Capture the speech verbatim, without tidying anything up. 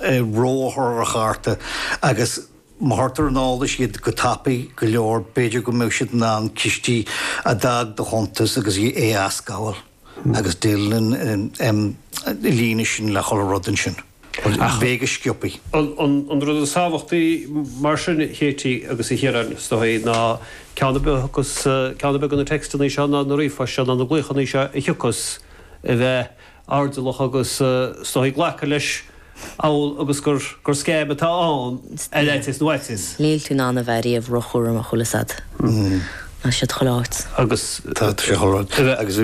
ró a chur ar chárta agus má chuirtear ar an eolas iad go tapaidh go leor, b'fhéidir go mbeadh siad in ann cistí a d'fhág do chuntas agus é a aisghabháil agus déileáil an líne sin le chuile rud ansin. Bheidh go sciobthaí. An rud is tábhachtaí mar sin a Chéití agus a Chiaráin is dóigh ná ceann ar bith agus ceann ar bith de na téacsanna seo ná na ríomhphoist seo ná na glaochanna seo a thiocfas a bheith airdeallach agus is dóigh glacadh leis amhail agus gur gur scam atá ann ar fhaitíos nó fhaitíos. Níl tú in ann a bheith riamh róchúramach bhfuil fhios a'd. Tá siad chuile áit. Agus Tá sé chuile áit agus